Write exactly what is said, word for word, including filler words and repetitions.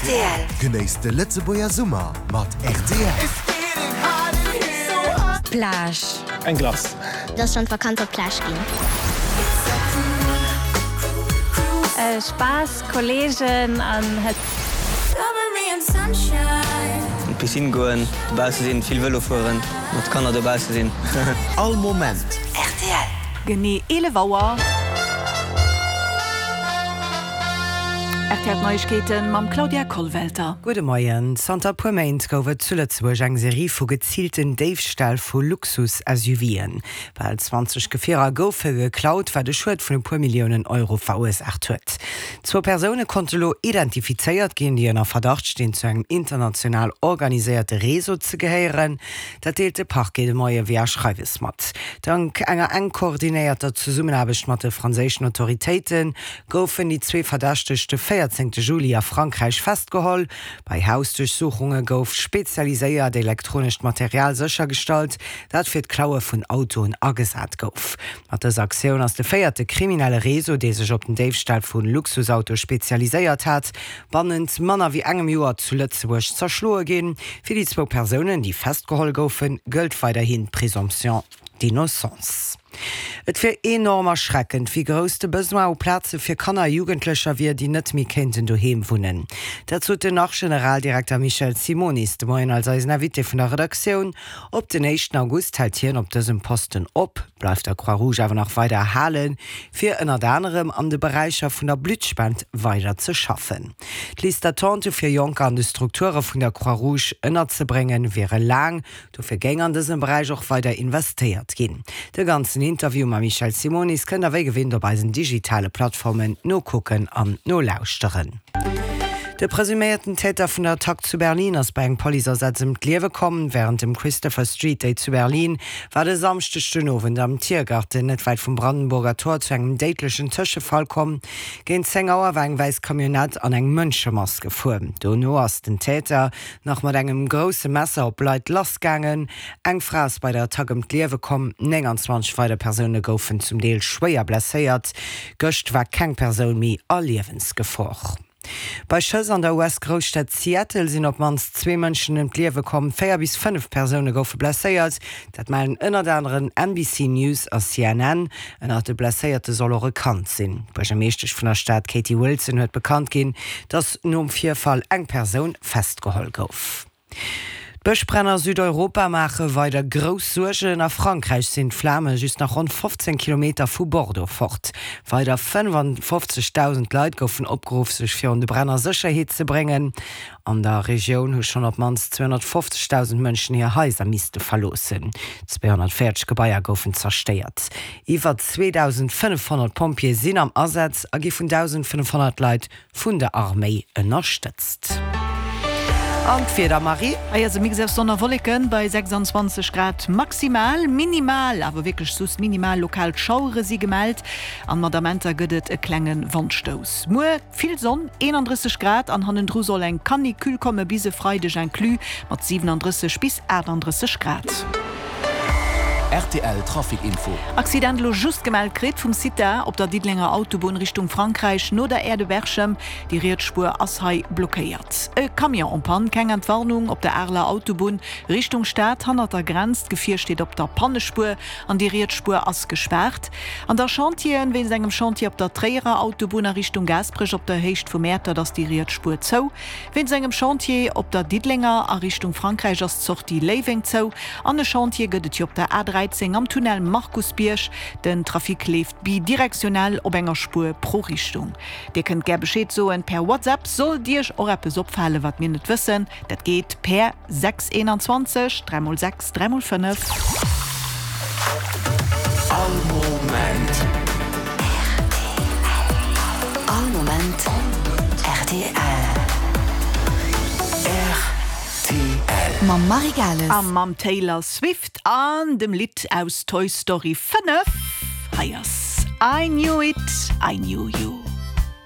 Rtl. Genéisst de Lëtzebuerger Summer mat rtl. Plage. Eng Glace. Et ass schonn d'Vakanz op d'Plage ginn. Spaass, Kolleegen an Hëtzt. An d'Piscine goen, dobausse sinn, vill Vëlo fueren, mat Kanner dobausse sinn. All Moment. Rtl. Genee eelef Auer. Rtl Neiegkeeten mam Claudia Kollwelter. Gudde Moien. Zanter e puer Méint gouf et zu Lëtzebuerg eng Serie vu geziilten Déifställ vu Luxus-SUVen. Bal zwanzeg Gefierer goufe geklaut, wat e Schued vun e puer Milliounen Euro verursaacht huet. Zwou Persoune konnte lo identifizéiert ginn, déi ënner Verdacht stinn, zu engem international organiséierte Réseau ze gehéieren. Dat deelt de Parquet de Moie via Schreiwes mat. Dank enger enk koordinéierter Zesummenaarbecht mat de franséischen Autoritéite goufen déi zwee Verdächteg de véierzéngte Juli a Frankräich festgeholl. Bei Hausduerchsuchunge gouf spezialiséiert elektronescht Material séchergestallt, dat fir d'Klaue vun Autoen agesat gouf. Mat dëser Aktioun ass de véierte kriminelle Réseau, dee sech op den Déifstall vu Luxusautoe spezialiséiert hat, bannent manner wéi engem Joer zu Lëtzebuerg zerschloe ginn. Fir déi zwou Persounen, déi festgeholl goufen, gëllt weiderhin d'Présomption d'innocence. Et wier enorm erschreckend, wéi grouss de Besoin u Plaze fir Kanner a Jugendlecher wier, déi net méi kéinten doheem wunnen. Dat sot den Nach-Generaldirekter Michel Simonis de Moien als eisen Invité vun der Redaktioun. Op den éischten August hält hien op dësem Posten op, bleift der Croix-Rouge awer nach weider erhalen, fir ënnert anerem an de Beräicher vun der Bluttspend weider ze schaffen. D'Liste d'attente fir Jonker an de Strukture vun der Croix-Rouge ënnerzebréngen, wiere laang. Dofir géing an dësem Beräich och weider investéiert ginn. De ganzen Interview mam Michel Simonis kënnt der wéi gewinnt op eisen digitale Plattformen nokucken an nolauschteren. De presuméierten Täter vun der Attack zu Berlin ass bei engem Policeasaz ëm d'Liewe komm. Wärend dem Christopher Street Day zu Berlin war et e Samschdeg den Owend am Tiergarten, net wäit vum Brandenburger Tor, zu engem déidlechen Tëschefall komm. Géint zéng Auer war eng wäiss Camionnette an eng Mënschemass gefuer. Dono ass den Täter nach mat engem grousse Messer op Leit lassgaangen. Eng Fra ass bei der Attack ëm d'Liewe komm, nénganzwanzeg weider Persoune goufen zum Deel schwéier blesséiert. Gëscht war keng Persoun méi a Liewensgefor. Bei Schëss an der U S-Grousstad Seattle sinn op d'mannst zwee Mënschen ëm d'Liewe komm, véier bis fënnef Persoune goufe blesséiert. Dat mellen ënnert aneren N B C News a C N N. Ënnert de Blesséierte soll och e Kand sinn. D'Buergermeeschtesch vun der Stad Katie Wilson huet bekannt ginn, datt nom Virfall eng Persoun festgeholl gouf. D'Bëschbränn a Südeuropa maache weider grouss Suergen. A Frankräich sinn d'Flame just nach ronn fofzéng Kilometer vu Bordeaux fort. Weider fënnefanfofzegdausend Leit goufen opgeruff, sech virun de Bränn a Sécherheet ze bréngen. An der Regioun hu schonn op d'mannst zweehonnertfofzegdausend Mënschen hir Haiser misste verloossen. Zweehonnertvéierzeg Gebaier goufen zerstéiert. Iwwer zweedausendfënnefhonnert Pompjeeë sinn am Asaz a gi vun dausendfënnefhonnert Leit vun der Arméi ënnerstëtzt. An d'Wieder, Marie? Hei ass e Mix aus Sonn a Wolleken bei sechsanzwanzeg Grad maximal. Minimal, awer wierklech soss minimal lokal Schauere si gemellt an mat Amenter gëtt et e klenge Wandstouss. Muer vill Sonn, eenandrësseg Grad an hannendru soll eng Canicule komme bis e Freideg inclus mat siwenandrësseg bis aachtandrësseg Grad. Rtl Trafic Info. Accident elo just gemellt kritt vum CITA op der Diddelenger Autobunn Richtung Frankräich no der Aire de Berchem. Déi riets Spuer ass hei blockéiert. E Camion en panne, keng Entwarnung op der Areler Autobunn Richtung Stad hannert der Grenz. D'Gefier steet op der Pannespuer an déi riets Spuer ass gespaart. An da Chantieren, Wéinst engem Chantier op der Tréierer Autobunn a Richtung Gaasperech op der Héicht vu Mäertert ass déi riets Spuer zou. Wéinst engem Chantier op der Diddelenger a Richtung Frankräich ass d'Sortie Léiweng zou. An e Chantier gëtt et jo op der A dräizéng am Tunnel Markusbierg. Den Trafic leeft bidirektionell op enger Spuer pro Richtung. Dir kënnt gär Bescheed soen per WhatsApp, sollt Iech och eppes opfalen, wat mir net wëssen. Dat geet per sechs eenanzwanzeg dräi mol sechs dräi mol fënnef. All Moment. All Moment rtl. Rtl. Mam Marie Gales. A mam Taylor Swift an dem Lidd aus Toy Story fënnef. Hei ass I Knew It, I Knew You.